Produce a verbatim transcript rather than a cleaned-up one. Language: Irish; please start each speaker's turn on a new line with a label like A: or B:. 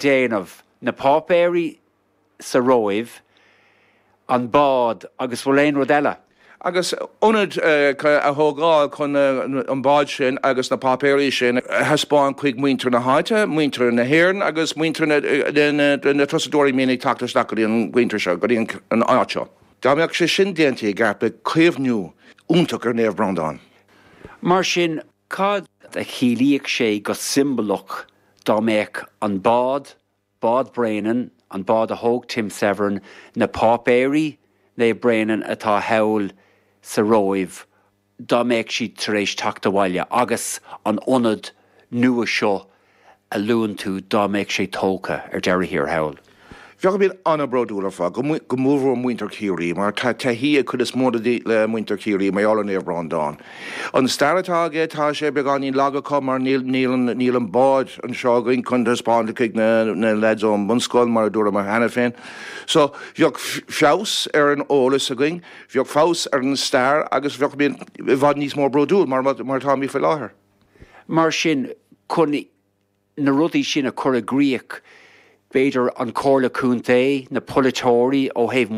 A: Déanamh, na páipéirí sa Róimh, an bád agus bhfuil aon rud eile?
B: Agus ionad a thógáil chun an bád sin agus na páipéirí sin a thaispeáint chuig muintir na háite, muintir na hÉireann agus muintir na turasóirí a mbíonn ag teacht isteach go dtí an gceantar seo, go dtí an áit seo. Dá mbeadh sé sin déanta i gceart, beidh caomhnú iontach ar Naomh Breandán.
A: Mar sin, cad a chiallaíodh sé go siombalach dá mbeadh an bád, Bád Bréanainn, an bád a thóg Tim Severin, na páipéirí Naomh Bréanainn atá thall sa Róimh, dá mbeadh siad tar éis teacht abhaile agus an ionad nua seo a luann tú dá mbeadh sé tógtha ar deireadh thiar thall?
B: Bheadh muid an-bhródúil ar fad, go mórmhór muintir Chiarraí, mar tá taithí ag cuid is mó de muintir Chiarraí mar gheall ar Naomh Breandán. An stair atá aige, tá sé beagáinín lag acu mar níl níl an bád anseo againn chun taispeáint chuig na na lads ón mbunscoil mar a dúramar cheana féin. So bheadh feabhas ar an eolas againn, bheadh feabhas ar an stair agus bheadh muid i bhfad níos mó bródúil mar mar atáimid faoi láthair.
A: Mar sin, chun na rudaí sin a chur i gcrích, b'fhéidir an Comhairle Contae, na polaiteoirí ó thaobh